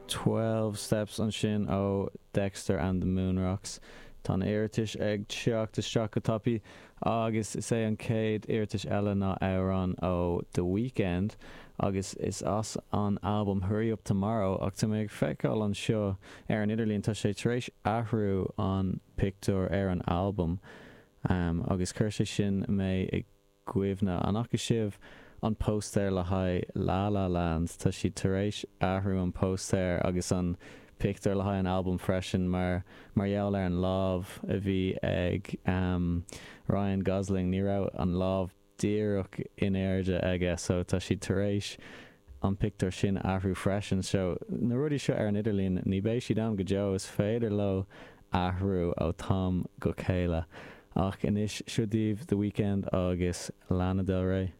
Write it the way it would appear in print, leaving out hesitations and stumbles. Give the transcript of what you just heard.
12 Steps ansin ó Dexter and the Moonrocks. Tá na hiarratais ag teacht isteach go tapaidh agus is é an chéad iarratas eile ná amhrán ó The Weeknd agus is as an albam Hurry Up Tomorrow ach tá mé ag feiceáil anseo ar an idirlíon tá sé tar éis athrú an pictiúr ar an albam agus chuir sé sin mé i gcuimhne. An bhfaca sibh an póstaer le haghaidh La La Land? Tá siad tar éis athrú an póstaer agus an pictiúr le haghaidh an albam freisin mar mar gheall ar an lámh a bhí ag Ryan Gosling. Ní raibh an lámh díreach in airde aige so tá siad tar éis an pictiúr sin a athrú freisin. So na rudaí seo ar an idirlíon ní beidh siad ann go deo, is féidir leo athrú ó tam go chéile. Ach anois seo daoibh The Weeknd agus Lana Del Rey.